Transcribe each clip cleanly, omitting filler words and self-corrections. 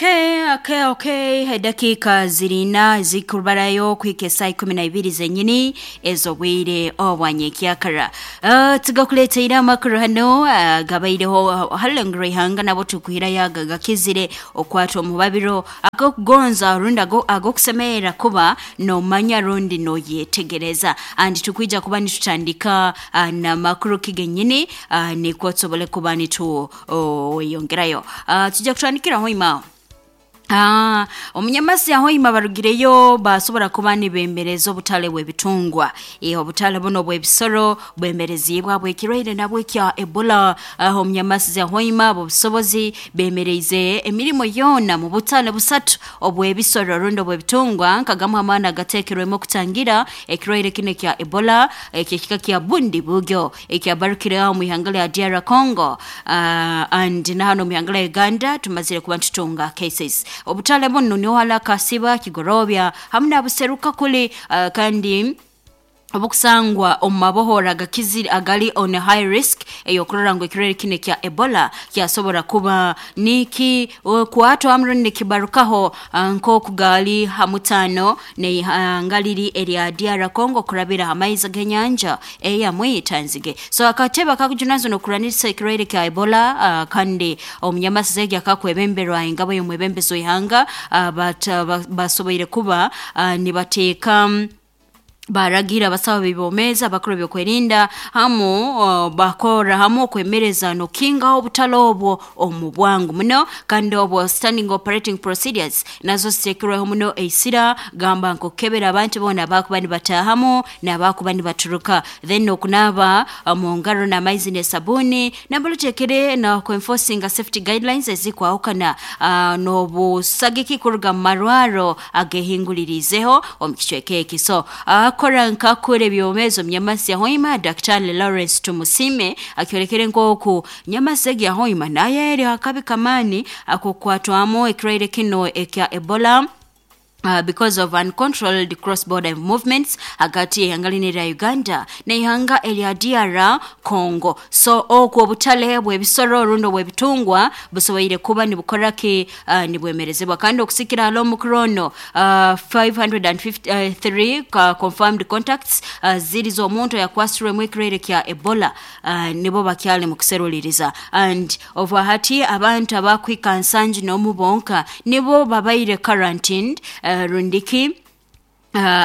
Okay. Dakika zirina zikubarayo kuhika esaa 12 zenyini ez'obwire obwanyekyakara. Tugakuleteire amakuru hano gabaireho halengero ihanga nabo tukuhirayo aga gakizire okwata omubabiro agokugonza rundi agokusemerera kuba nomanya rundi noyetegereza, and tukwija kuba nitutandika n'amakuru kigenyini nikwo tusobole kuba nituyongerayo. Tujja kutandikira hoima. Omunyamasi ahoima barugireyo basobora kuba nibemereza obutale bw'ebitungwa. Obutale buno bw'ebisoro bwemerezibwa bw'ekirwaire nabwo ekya Ebola. Omunyamasi ahoima obusobozi bemereize emirimo yoona mu butale busatu obw'ebisoro rundi obw'ebitungwa, nkagamu amaani agateekerwemu okutangira ekirwaire kino ekya Ebola ekyekika kya Bundi Bugyo ekyabarukireho omu ihanga lya DR Congo, and na hano omu ihanga lya Uganda tumazire kuba nitutunga cases. Obutale buno niho hali akasiba Kigorobya hamu nabuseruka kuli, kandi obukusangwa omu mabohora agakizire agali on high risk eyokurora ngu ekirwaire kino ekya Ebola kyasobora kuba niki kwatwa hamu rundi nikibarukaho, nk'oku gali ha mutaano n'eihanga liri erya DR Congo kurabira ha maizi g'enyanja eyamwitanzige. So akatebe akakujunanizibwa n'okurwanisa ekirwaire kya Ebola, kandi omunyamasi egi akakwebemberwa engabo y'omwebembezi w'ihanga, basoboire kuba nibateeka baragira abasawo b'ebyomeezi, abakuru b'ebyokwerinda hamu bakora hamu okwemereza n'okukingaho obutale obwo omu bwangu muno, kandi obwo standing operating procedures nazo ziteekirweho muno eisira, gamba nk'okukebera abantu boona abakuba nibataahamu n'abakuba nibaturuka, then okunaaba mu ngaro n'amaizi n'esabuuni, nambere oteekere n'okwenforcinga safety guidelines ezikwahukana, n'obusagiki kuruga mu marwaro agehinguliriizeho omu kicweka eki. So akora nkakura ebyomeezi omunyamasi yahoima Daktari Lawrence Tumusime akyolekere nk'oku nyamasi egi yahoima nayo eri akabi kamaani ak'okukwatwamu ekirwaire kino ekya Ebola, because of uncontrolled cross-border movements hagati y'ihanga lino erya Uganda n'ihanga erya DR Congo. So okwo obutale bw'ebisoro rundi obw'ebitungwa busoboire kuba nibukora ki, nibwemerezebwa, kandi okusikira hali omukuru ono, 553 confirmed contacts ziri z'omuntu ayakwasirwemu ekirwaire kya Ebola, nibo bakyali mu kuseruliriza, and ova hati abantu abakuhika 71 bonka nibo babaire quarantined, rundiki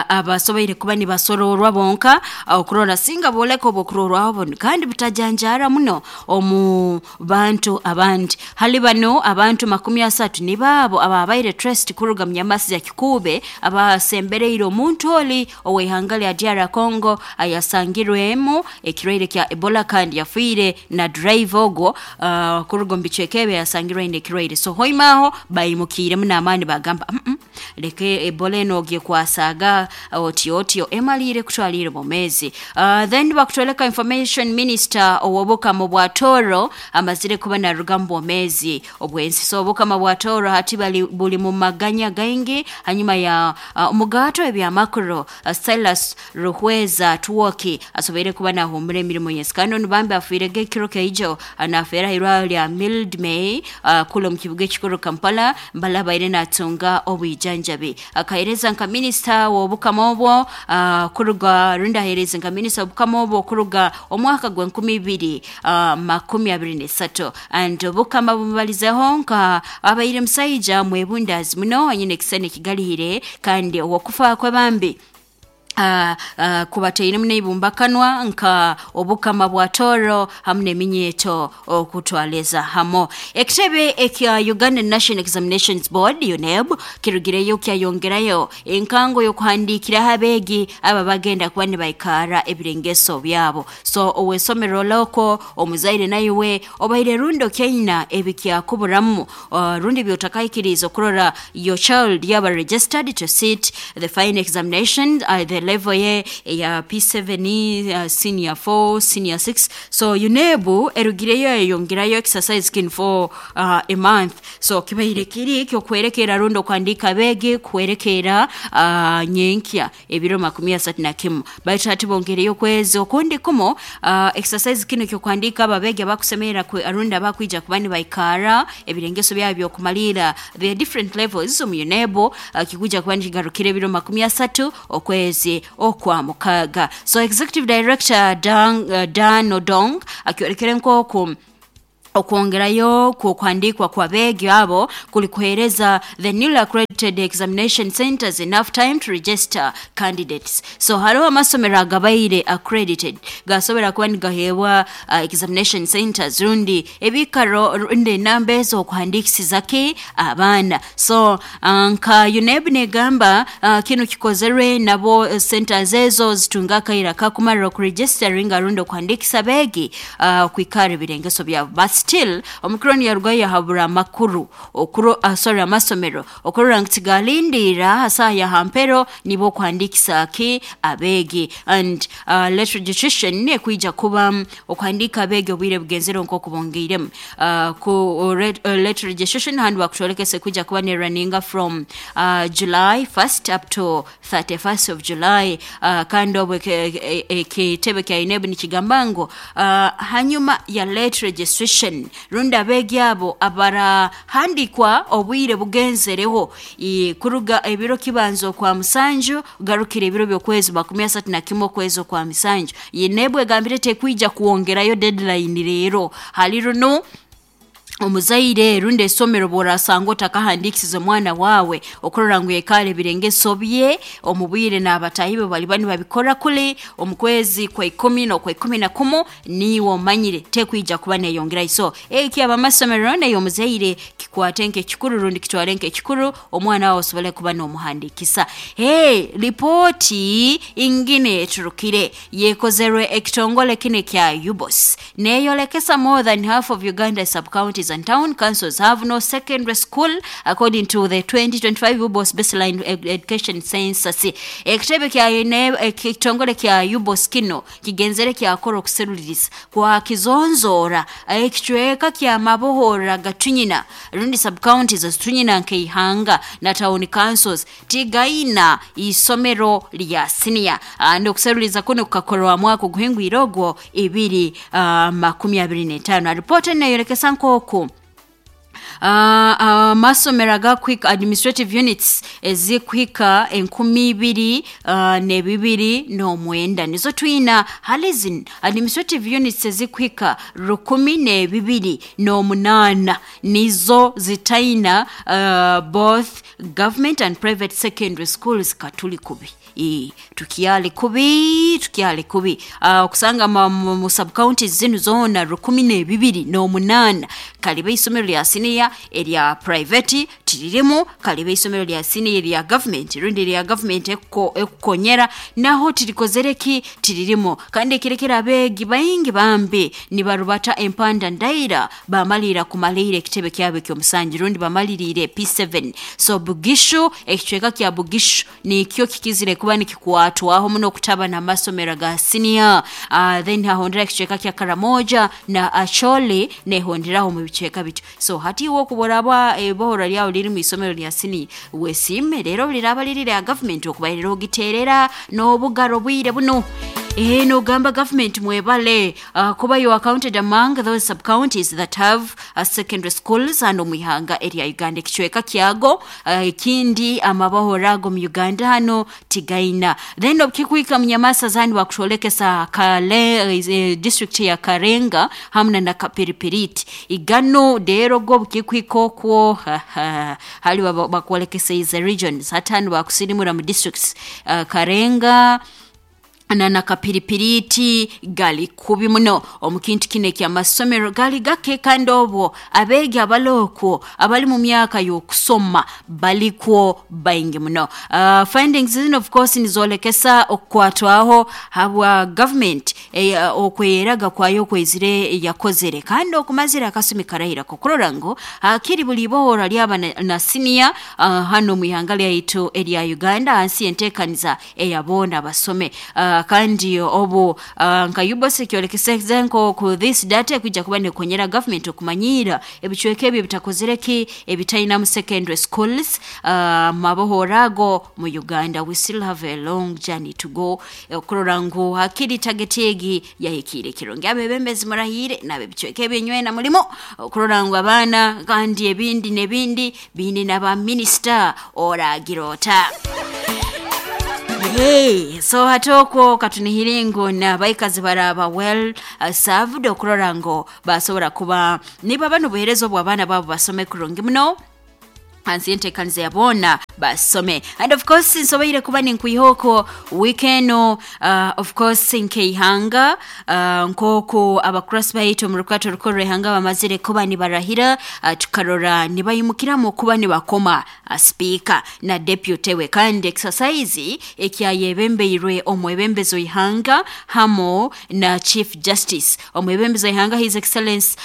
abasoboire kuba nibasororwa bonka, okurora singa boleka obwokurorwaho bunu kandi butajanjara muno omu bantu abandi. Hali bano abantu 30 nibaabo ababaire traced kuruga mu nyamasi ya Kikuube abasembereire omuntu oli ow'ihanga lya DR Congo ayasangirwemu ekirwaire kya Ebola kandi yafiire na driver ogwo, kuruga omu bicweka ebyo yasangirwe aine ekirwaire. So hoima aho baimukiiremu n'amaani bagamba, leka Ebola eno ogyekwasaga otyo otyo emaliire kutwalire bwomeezi. Then bakutwoleka information minister ow'obukama bwa Toro amazire kuba naruga mu bwomeezi obw'ensi. So obukama bwa Toro hati bali buli mu maganya gaingi hanyuma ya omugato ebyamakuru Silas Ruhweza Twoki asoboire kuba nahumura emirimo yensi, kandi onu bambi afiirege ekiro keijo, nafeera hairwaro lya Mildmay, kula omu kibuga ekikuru Kampala mbala abaire natunga obwijanjabi. Akahereza nka minisita w'obukama obwo, kuruga rundi ahereza nka minisita w'obukama obwo kuruga omwaka gw'e 2023, and obukama bumubalizeho nka abaire musaija mwebundazi muno anyine ekisani ekigalihire, kandi owokufa kwe bambi kubateiremu n'eibumbakanwa nka obukama bwa Toro hamu n'eminyeeto okutwaliza hamu. Ekitebe ekya Uganda National Examinations Board UNEB kirugireyo kyayongerayo enkango y'okuhandiikiraho abeegi aba bagenda kuba nibaikara ebirengeso byabo. So ow'esomero loko omuzaire naiwe obaire rundi okyaina ebikyakuburamu, rundi byotakahikiriize okurora your child yaba registered to sit the final examination, the Level ye eya P7, senior 4, senior 6. So UNEB erugireyo eyongerayo exercise kinu for a month. So kibaire kiri kyokwerekera rundi okuhandika abeegi kuhwerekera nyenkya ebiro 31, baitu hati bongereyo okwezi okundi kumu. Exercise kinu kyokuhandika abo abeegi abakusemerera rundi abakwija kuba nibaikara ebirengeso byabo byokumalira the different levels omu UNEB, kikuja kuba nikigarukira ebiro 30 okwezi okwa mukaaga. So executive director Dan Odong akyorekere nk'oku okwongerayo kw'okuhandikwa kw'abeegi abo kuli kuheereza the newly accredited examination centers enough time to register candidates. So hariho amasomero agabaire accredited gasobora kuba nigaheebwa examination centers rundi ebikaro rundi enamba ez'okuhandikisizaki abaana. So nka UNEB negamba, kinu kikozerwe nabo centers ezo zitunga akaira kakumarira okuregisteringa rundi okuhandikisa abeegi kwikara ebirengeso byabo. But still Omicron yarugayo yahabura amakuru okuro, sorry, amasomero okurora ngu tigalindiira hasaha ya hampero nibo okuhandikisa ki abeegi. And late registration ekwija kuba okuhandika abeegi obwire bugenzere nk'oku bongeiremu ku late registration handi bakutwolekesa ekwija kuba nerunninga from July 1st up to 31st of July. Kandi obwo ekitebe kya UNEB nikigamba ngu hanyuma ya late registration rundi abeegi abo abarahandikwa obwire bugenzereho, kuruga ebiro kibanza okwa musanju garukira ebiro by'okwezi 31 okwezi okwa musanju, UNEB egambire tekwija kuwongerayo deadline. Rero hali runo omuzaire rundi esomero bw'orasanga otakahandikisize omwana waawe okurora ngu yekaara ebirengeso bye omu bwire n'abataahi be baliba nibabikora kuli omu kwezi kwa 10 n'okwa 11, niiwe omanyire tekwija kuba neyongerayo. So eki abamasomero naye omuzaire kikwate nk'ekikuru rundi kitwale nk'ekikuru omwana wawe osobole kuba n'omuhandikisa. Hey, ripooti ingine eturukire yekozerwe ekitongole kine kya UBOS neyolekesa more than half of Uganda sub-counties and town councils have no secondary school, according to the 2025 UBOS baseline education census. Ekitebe kya ekitongole kya UBOS kino kigenzere kyakora okuseruliriza kwa kizonzora ekicweka kya mabohora gatunyina rundi sub-counties ezitunyina nk'eihanga na town councils tigaina isomero lya senior. And okuseruliriza kuno kukakorwa mwaka oguhingwire ogwo ibiri 25. Ripoti neyorekesa nk'oku amasomero agakuhika administrative units ezikuhika 2029 nizo twina. Hali zino administrative units ezikuhika 1028 nizo zitaina both government and private secondary schools. Katuli kubi, tukyali kubi, tukyali kubi. Okusanga mu subcounties zinu zoona 1028, kaliba isomero lya siniya erya private tiririmu, kaliba isomero lya siniya erya government rundi erya government ekukonyera naho tirikozere ki tiririmu. Kandi ekirekera abeegi baingi bambi nibarubata empanda ndaira bamalira kumalira ekitebe kyabo ekyomusanju rundi bamaliriire P7. So Bugishu, ekicweka kya Bugishu nikyo kikizire kuba nikikwatwaho muno okutaba n'amasomero ga siniya. Then hahondera ekicweka kya Karamoja na Acholi nehonderaho mu bicweka bityo. So hati iwe okuboraba ebohora lyawe liri mu isomero lya siniya, wesiime. Rero liraba liri lya government okubairira ogiterera n'obugaro bwire buno. Nogamba government mwebale kuba you are counted among those sub-counties that have secondary schools hano mu ihanga erya Uganda. Ekicweka kyago ekindi amabahora ago mu Uganda hano tigaina. Then obukikuhika munyamasa zandi bakutwolekesa kale district ya Karenga hamuna na Kapiripiriti igano rero go bukikuhika okwo hali bakwolekesa ize regions hatano bakusirimura mu districts, Karenga. Na kapiripiriti gali kubi muno omu kintu kino ekyamasomero gali gake, kandi obwo abeegi abalokwo abali mu myaka y'okusoma balikwo baingi muno. Findings zino of course nizolekesa okukwatwaho habwa government okweraga kwayo okwezire yakozere kandi okumazire akasumi karahira kukurora ngu hakiri buli bohora lyaba na senior hano mu ihanga lyaitu erya Uganda hansi y'enteekaniza eyabona basome. Kandi obu nka UBOS kyolekeseze nko ku this data ekwijja kuba nekonyera government okumanyira ebicweka ebyo ebitakozere ki ebitaina mu secondary schools mabohorago mu Uganda. We still have a long journey to go okurora ngu hakiri target egi yahikire kirungi. Abebembezi murahire nabebicweka ebyenywena mulimo okurora ngu abaana kandi ebindi n'ebindi bine n'aba minister oragira ota. Hey, so hatoko katunihire ngu n'abaikazi baraba well served okurora ngu basobora kuba niba bano buheereza obw'abaana baabo basome kurungi muno hansi y'enteekaniza ya boona basome. And of course nsoboire kuba ninkwiha weekend of course nkeihanga nk'oku abakurasi baitu omu rukwato rukuru rw'ihanga bamazire kuba nibarahira, tukarora nibayimukiramu kuba nibakoma speaker na deputy we, kandi exercise ekyayebembeirwe omwebembezi w'ihanga hamo na Chief Justice. Omwebembezi w'ihanga His Excellence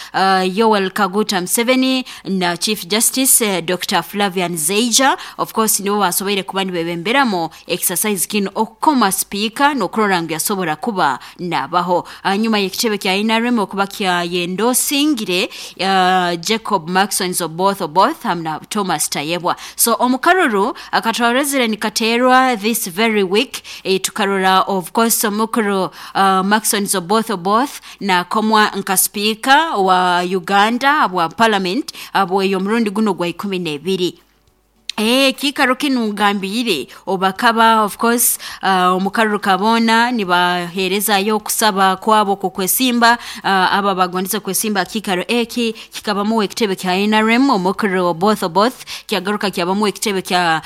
Yoweri Kaguta Museveni na Chief Justice Dr. Flavian Zeija of course nibo basoboire kuba nibebemberamo exercise kino okukoma speaker n'okurora ngu yasobora kuba nabaho hanyuma y'ekitebe kya NRM okuba kyayendosingire Jacob Maxon Oboth Oboth hamwe na Thomas Tayebwa. So omukaruru akatwarezire nikaterwa this very week, tukarora of course omukuru Maxon Oboth Oboth nakomwa nka speaker wa Uganda bwa parliament abweyo omurundi guno gwa 12. Kikaro kinu ngambire obakaba of course omukaruru kabona nibaherezayo okusaba kwabo kukwesimba, aba bagondeza kwesimba kikaro eki kikabamu ekitebe kya NRM omukuru Oboth Oboth, kyagaruka kyabamu ekitebe kya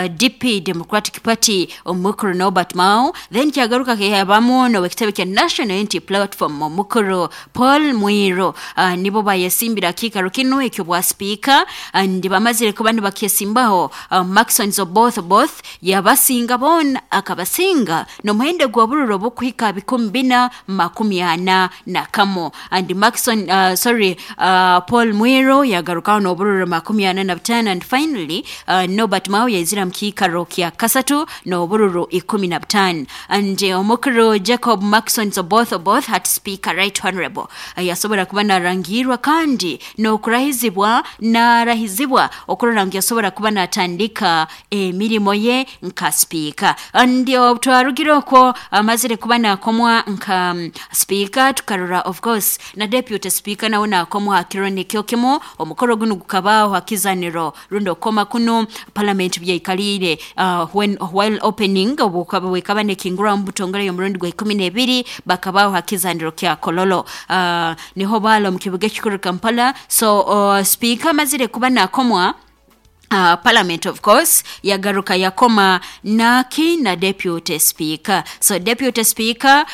DP Democratic Party omukuru Norbert Mao, then kyagaruka kyabamu no ekitebe kya National Unity Platform omukuru Paul Mwiro. Nibo bayesimbira kikaro kinu ekyo bwa speaker and bamazire kuba nibakyesimbaho. Maxon Oboth Oboth yabasinga bona akabasinga n'omuhendo gwa bururo bukuhika 441 and Maxon Paul Mwiro yagarukaho n'obururo 45 and finally Norbert Mao yaizira mu kiikaro kya kasatu n'obururo 15 and omukuru Jacob Maxon Oboth Oboth hat speaker right honorable yasobora kuba narangirwa kandi n'okurahizibwa narahizibwa okurora ngu yasobora kuba natandika emirimo ye nka speaker. Ndio twarugire okwo amazire kuba nakomwa nka speaker, tukarora of course na deputy speaker nawe nakomwa hakiro nikyo kimu. Omukoro guno gukabaho hakizaniro rundo koma kuno parliament byaikalire when while opening obukaba wekaba nekingura mu butongole y'omurundi gwa 12 bakabaho hakizaniro kya Kololo niho balo mu kibuga kikuru Kampala. So speaker amazire kuba nakomwa parliament of course yagaruka yakoma naki na deputy speaker. So deputy speaker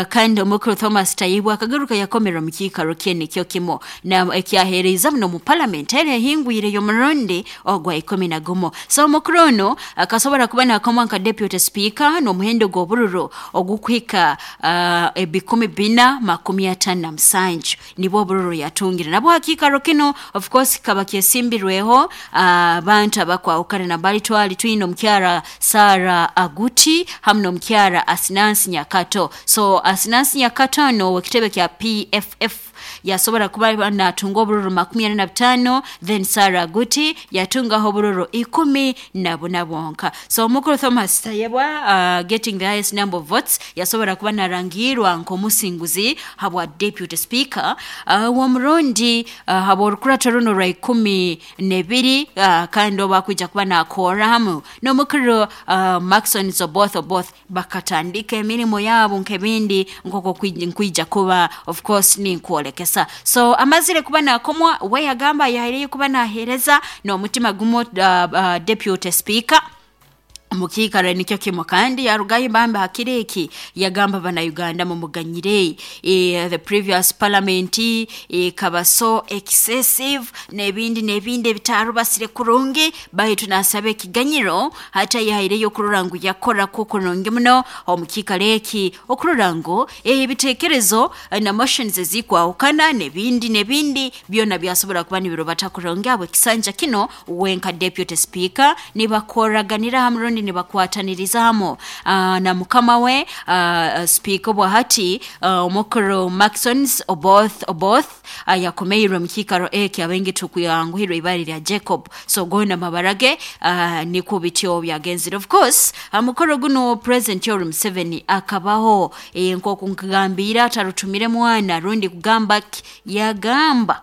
kandi omukuru Thomas Tayebwa akagaruka yakomera mu kiikaro kye nikyo kimo na ekyahereza muno mu parliament ere hingwire y'omurundi ogwa 11. So omukuru ono akasobora kuba nakoma nka deputy speaker n'omuhendo gw'obururo ogukwika 457 nibwo obururo yatungire nabwo hakiikaro kino of course kaba kyesimbirweho abantu abakwahukana na bali twali twine omukyara Sarah Aguti hamwe n'omukyara Asinansi Nyakato. So Asinansi Nyakato no wekitebe kya PFF yasobora kuba natunga obururu 45, then Sarah Aguti yatungaho obururu 14 bwonka. So omukuru Thomas Tayebwa getting the highest number of votes yasobora kuba narangirwa nk'omusinguzi habwa deputy speaker w'omurundi habwa orukurato runo rwa 12, kandi obakwija kuba nakora hamu n'omukuru Maxon Oboth Oboth bakatandika emirimo yabo nk'ebindi nk'oko nkwija kuba of course ninkwolekesa. So amazire kuba nakomwa we yagamba yahireyo kuba nahereza n'omutima gumo deputy speaker. Mukiikaro nikyo kimu kandi yarugayo bambi hakiro eki yagamba bannayuganda mumuganyire, the previous parliament ekaba so excessive n'ebindi n'ebindi ebitarubasire kurungi, baitu nasaba ekiganyiro. Hati ayehaireyo okurora ngu yakora kwo kurungi muno omu kiikaro eki, okurora ngu ebiteekerezo na motions ezikwahukana n'ebindi n'ebindi byona byasobora kuba nibirubata kurungi habw'ekisanja kino. We nka deputy speaker nibakoraganira hamu rundi nibakwataniriza hamu na mukama we speaker bwahati, omukuru Maxons Oboth Oboth, yakomeirwe mu kiikaro eki. Abaingi tukuyanguhirwe ibara lya Jacob, so gona mabara ge. Nikwo bityo byagenzire. Of course mukoro guno President Yoweri Museveni akabaho. Nk'oku nkugambire, atarutumire mwana rundi kugamba ki, yagamba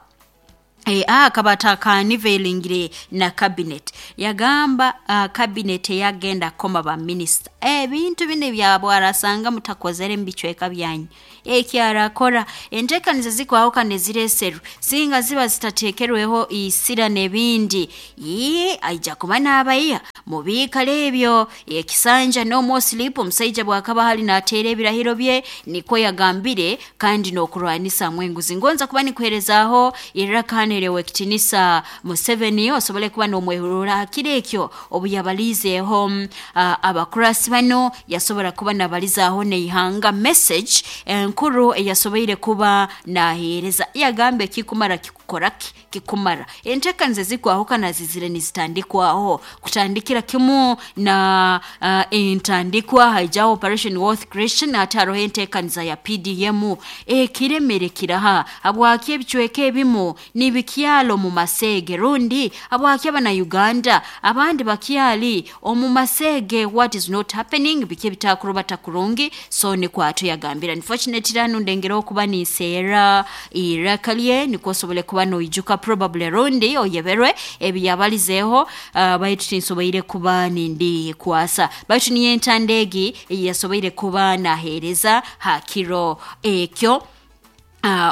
akaba atakaunveilingire na cabinet. Yagamba cabinet eyagenda koma ba minisita, ebintu bino ebyabwarasanga mutakozere mu bicweka byanyu, eki arakora enteekaniza zikwahukana ezireeserwe singa ziba zitateekerweho isira n'ebindi, ii aija kuba n'abaiha mubiikaro ebyo. Ekisanja no more sleep. Omusaija bwakaba hali nateera ebirahiro bye, nikwo yagambire, kandi n'okurwanisa enguzi. Ngonza kuba nikuherezaaho iraka ekitinisa Museveni, osobole kuba n'omwehurura hakiro ekyo obu yabalizeeho abakurasi bano, yasobora kuba nabalizaaho n'ihanga. Message enkuru eyasoboire kuba naheereza, yagamba ekikumara kikukora ki kikumara. Enteekaniza ezikwahukana zizire nizitandikwaho, kutandikira kimu na entandikwa haijaho Operation Wealth Creation. Hati haroho enteekaniza ya PDM. Ekiremere kiraha? Habwaki ebicweka ebimu nibikyalo mu maseege, rundi habwaki abanauganda abandi bakyali omu maseege? What is not happening? Biki ebitakurubata kurungi? So nikwato yagambira. Unfortunately hanu ndengera okuba ninseera iraka lye, nikwo osobole kuba noijuka, probably rundi oyeberwe ebi yabalizeeho, baitu tinsoboire kuba nindi kwasa, baitu niyo entanda egi eyasoboire kuba naheereza ha kiro ekyo,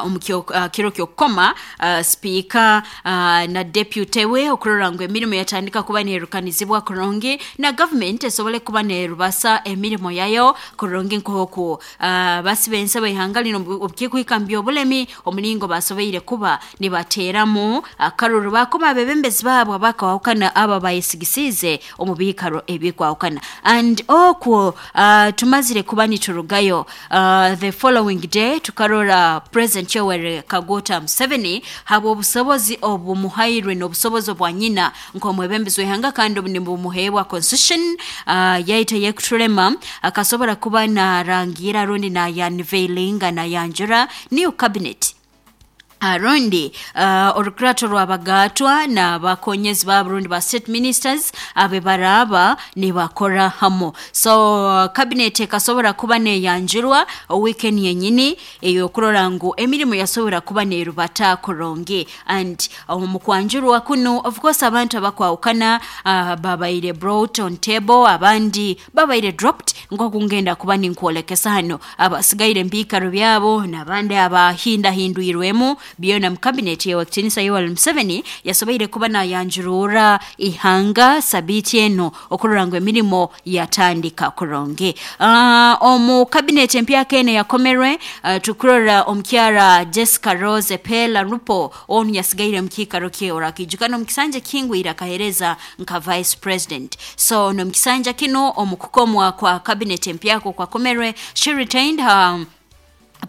omu kiro ky'okukoma speaker na deputy we, okurora ngu emirimu yatandika kuba neerukanizibwa kurungi na government esobole kuba neerubasa emirimu yayo kurungi, nk'oku basiba ensaba ihanga lino obukikuhika mu by'obulemi, omulingo basoboire kuba nibateeramu akaruru bakoma abebembezi baabo abakwahukana aba bayesigisiize omu biikaro ebikwahukana. And okwo tumazire kuba niturugayo, the following day tukarora President Yoweri Kaguta Museveni, habw'obusobozi obumuhairwe n'obusobozi obwa nyina nk'omwebembezi w'ihanga, kandi obu nibumuheebwa constitution yaitu eyekutulema, akasobora kuba narangira rundi nayaunveilinga, nayanjura new cabinet, rundi orukurato rw'abagatwa n'abakonyezi baabo rundi ba state ministers abe baraba nibakora hamu. So cabinet ekasobora kuba neyanjurwa weekend yenyini eyokurora ngu emirimu yasobora kuba nerubata kurungi. And omu kwanjurwa kuno, of course, abantu abakwahukana babaire brought on table, abandi babaire dropped, nk'oku ngenda kuba ninkwolekesa hano abasigaire mu biikaro byabo n'abandi abahindahindwirwemu byona mu cabinet yewakitinisa Yoweri Museveni yasoboire kuba nayanjurura ihanga sabiiti eno, okurora ngu emirimu yatandika kurungi. Omu cabinet empyaka eno yakomerwe, tukurora omukyara Jessica Rose Pela Rupo, onu yasigaire mu kiikaro kye. Orakijukana omu kisanja kihingwire akahereza nka vice president. So n'omu kisanja kino, omu kukomwa kwa cabinet empyaka okwakomerwe, she retained her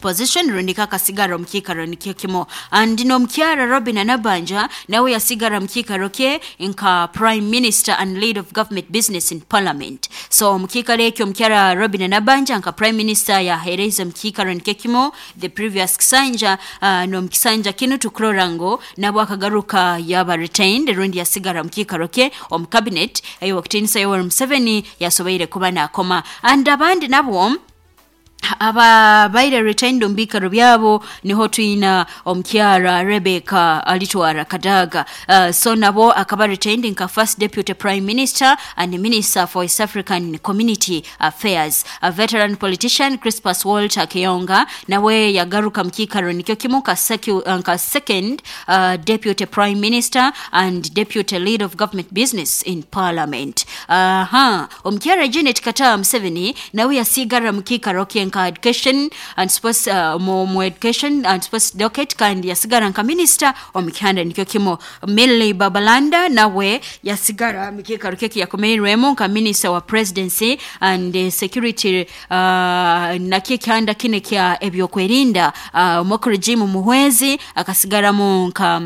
position rundi kakasigara omu kiikaro nikyo kimu. And n'omukyara Robin Nabanja nawe yasigara mu kiikaro kye nka prime minister and lead of government business in parliament. So mu kiikaro ekyo, omukyara Robin Nabanja nka prime minister yaheereza mu kiikaro nikyo kimu the previous kisanja. N'omu kisanja kinu tukurora ngu nabo akagaruka yaba retained rundi yasigara mu kiikaro kye omu cabinet ey'okutinisa Yoweri Museveni yasoboire kuba nakoma. And abandi nabo Ababaire retained omu biikaro byabo niho twina omukyara Rebecca Alitwara Kadaga. So nabo akaba retained nka first deputy prime minister and minister for East African Community Affairs. A veteran politician Crispus Walter Kiyonga nawe yagaruka mu kiikaro nikyo kimu nka second deputy prime minister and deputy leader of government business in parliament. Aha, omukyara Janet Kataaha Museveni nawe yasigara mu kiikaro kye nka education and sports, mu education and sports docket, kandi yasigara nka minister omu kihanda nikyo kimu. Milly Babalanda nawe yasigara mu kiikaro kye kiyakomeirwemu nka minister wa presidency and security, nakyo ekihanda kine kya ebyokwerinda. Omukuru Jim Muhwezi akasigaramu nka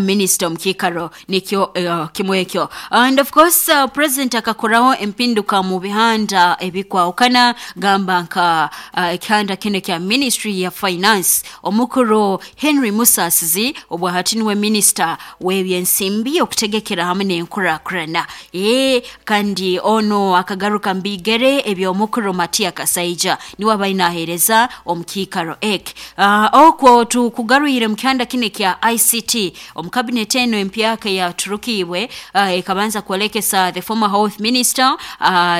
minisita omu kiikaro nikyo kimwe ekyo. And of course, president akakoraho empinduka mu bihanda ebikwahukana, gamba nka ekihanda kino kya ministry ya finance, omukuru Henry Musasizi obwahati niwe minisita w'ebyensimbi, okutegekera hamwe n'enkurakurana. Kandi ono akagaruka mbigere eby'omukuru Matia Kasaija, niwe abaine naheereza omu kiikaro eki. Okwo tukugarwire mu kihanda kino kya ICT. Omu cabinet eno empyaka yaturukiibwe, ekabanza kwolekesa the former health minister,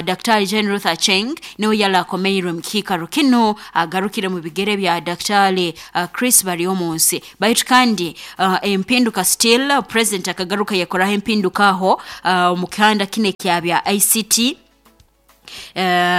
Dr. Jane Ruth Acheng, niwe yala akomeirwe mu kiikaro kino, agarukire mu bigere bya Dr. Chris Baryomunsi. Baitu kandi empinduka still, president akagaruka yakoraho empinduka aho omu kihanda kino ekya bya ICT,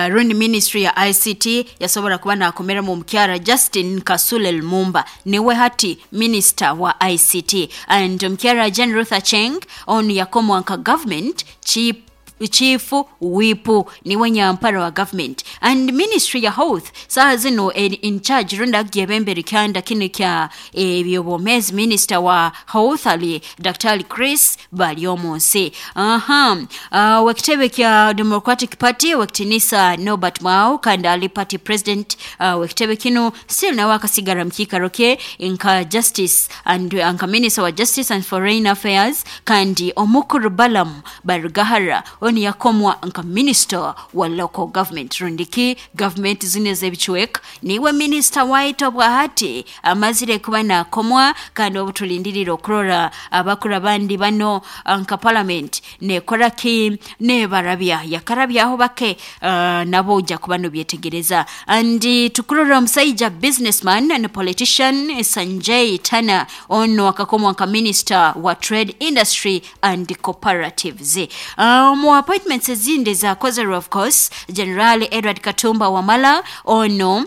rundi ministry ya ICT, yasobora kuba nakomeramu omukyara Justin Kasule Lumumba, niwe hati minister wa ICT. And omukyara Jane Ruth Acheng onu yakomwa nka government chief whip, niwe nyampara wa government. And ministry ya health saha zino eri in charge, rundi agyebembera ekyanda kino kya ebyobwomezi, minister wa health ali Dr. Chris Baryomunsi. Aha, wekitebe kya Democratic Party, wekitinisa Norbert Mao, kandi ali party president wekitebe kino, still nawe akasigara mu kiikaro kye nka justice and nka minister wa justice and foreign affairs. Kandi omukuru Balaam Barugahara oni yakomwa nka minister wa local government, rundiki government zino ez'ebichweka, niwe minister waitu obwahati amazire kuba nakomwa. Kandi obu tulindirire okurora abakuru abandi bano nka parliament nekora ki, nebarabya yakarabyaho bake, nabo ojja kuba nobyetegereza. And tukurora omusaija businessman and politician Sanjay Tana, ono akakomwa nka minister wa trade, industry and cooperatives. Mu appointments ezindi zakozerwe, of course, General Edward Katumba Wamala ono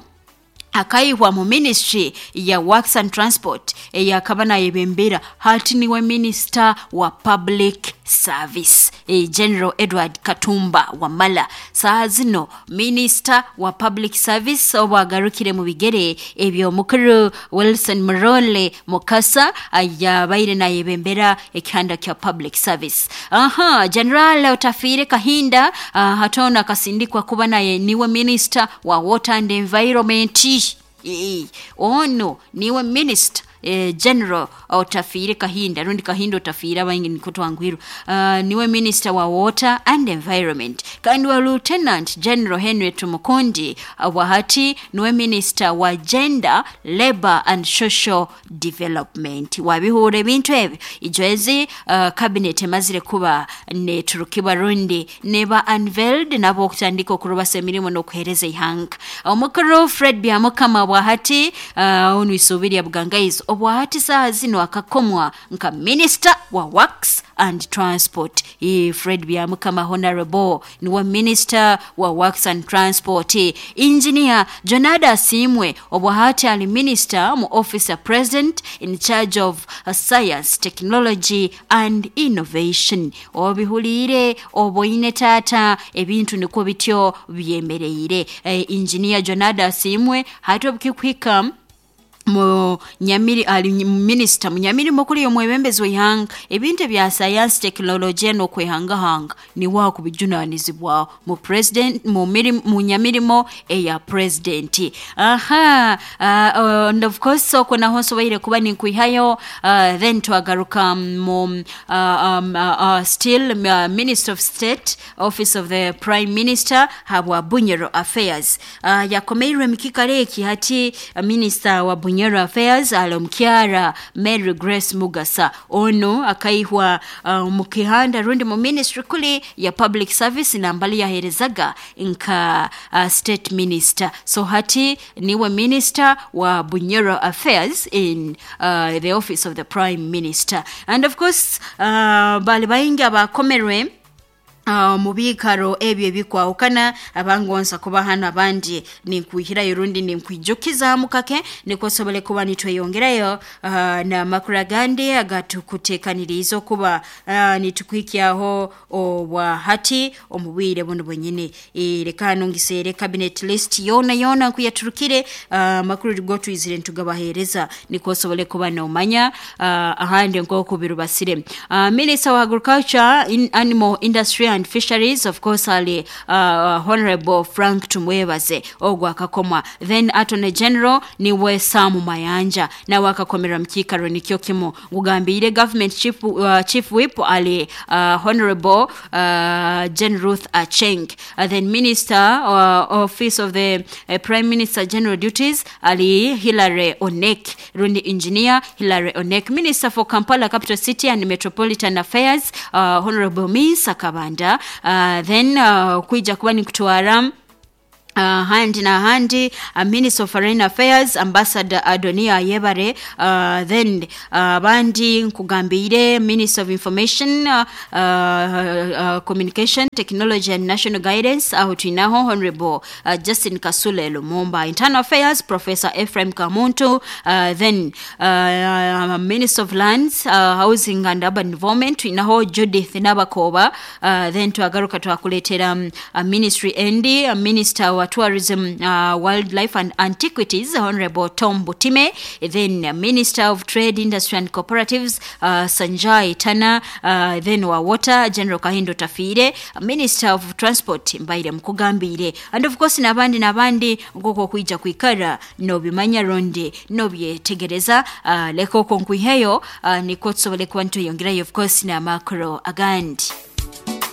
akaihwa mu ministry ya works and transport eyakaba nayebembera, hati niwe minister wa public service. General Edward Katumba Wamala saha zino minister wa public service, obu agarukire mu bigere eby'omukuru Wilson Murole Mukasa yabaire nayebembera ekihanda kya public service. Aha, General Otafiire Kahinda, hatona akasindikwa kuba naye niwe minister wa water and environment. Ono niwe minister, General Otafiire Kahinda, rundi Kahinda Otafiire, abaingi niko twangwirwa, niwe minister wa water and environment. Kandi wa Lieutenant General Henry Tumukundi, wahati niwe minister wa gender, labor and social development. Wabihura ebintu ebyo ijwezi, cabinet emazire kuba neturukibwa rundi neba unveiled, nabo okutandika okurubasa emirimu n'okuhereza ihanga. Omukuru Fred Byamukama bwahati, onu isuubirya bugangaizi, obwahati saha zino akakomwa nka minister wa works and transport. Fred Byamukama honorable niwe minister wa works and transport. Engineer Jonada Asimwe obwahati ali minister mu office of president in charge of science, technology and innovation. Obihuliire oboine tata, ebintu nikwo bityo byemereire. Engineer Jonada Asimwe hati obukikuhika Munyamiri ali minisita munyamirimo kuli omwebembezi w'ihanga, ebintu ebya sayansi, tekinologiya n'okwehangahanga niwe akubijunanizibwaho mu president mu nyamirimo eya president. Aha, and of course okwo naho nsoboire kuba ninkwihayo, then twagaruka mu still Minister of State, Office of the Prime Minister, habwa Bunyoro Affairs. Yakomeirwe mukikaro eki hati Minister wa Bunyoro Affairs ali omukyara Mary Grace Mugasa. Ono akaihwa omu kihanda rundi mu ministry kuli ya Public Service, nambali yaherezaga nka state minister. So hati niwe minister wa Bunyoro Affairs in the Office of the Prime Minister. And of course bali baingi abakomerwe mu biikaro ebyo ebikwahukana, abangonza kuba hano, abandi ninkwihirayo rundi ninkwijukizamu kake nikwo sobole kuba nitweyongerayo n'amakuru agandi agatukuteekaniriize okuba nitukuhikyaho obwa hati omu bwire buno bwenyini. Leka hano ngiseere cabinet list yoona yoona nkuyaturukire, amakuru gotwizire nitugabaheereza nikwo osobole kuba nomanya ahandi nk'oku birubasire. Minister wa Agriculture, in Animal Industry and Fisheries, of course ali Honorable Frank Tumwebaze, ogwo akakomwa. Then Attorney General niwe Sam Mayanja, nawe akakomera mu kiikaro nikyo kimu. Ngugambiire government chief whip ali Honorable Jane Ruth Acheng. Then Minister, Office of the Prime Minister General Duties ali Hilary Onek, rundi Engineer Hilary Onek. Minister for Kampala Capital City and Metropolitan Affairs, Honorable Minsa Kabanda. Then kwija kuba nikutwara handi na handi, Minister of Foreign Affairs, Ambassador Adonia Ayebare. Then abandi nkugambire Minister of Information, Communication, Technology and National Guidance, aho twinaho Honorable Justin Kasule Lumumba. Internal Affairs, Professor Ephraim Kamuntu. Then Minister of Lands, Housing and Urban Development, twinaho Judith Nabakoba. Then twagaruka twakuleetera Ministry endi, Minister wa Tourism, Wildlife and Antiquities, Honorable Tom Butime. Then Minister of Trade, Industry and Cooperatives, Sanjay Tana. Then wa Water, General Kahindo Tafire. Minister of Transport Mbaire Mukugambire. And of course n'abandi n'abandi nk'oku okwija kwikara nobimanya rundi nobyetegereza. Leka okwo nkwiheyo, nikwo tusobole kuba nitweyongerayo of course n'amakuru agandi.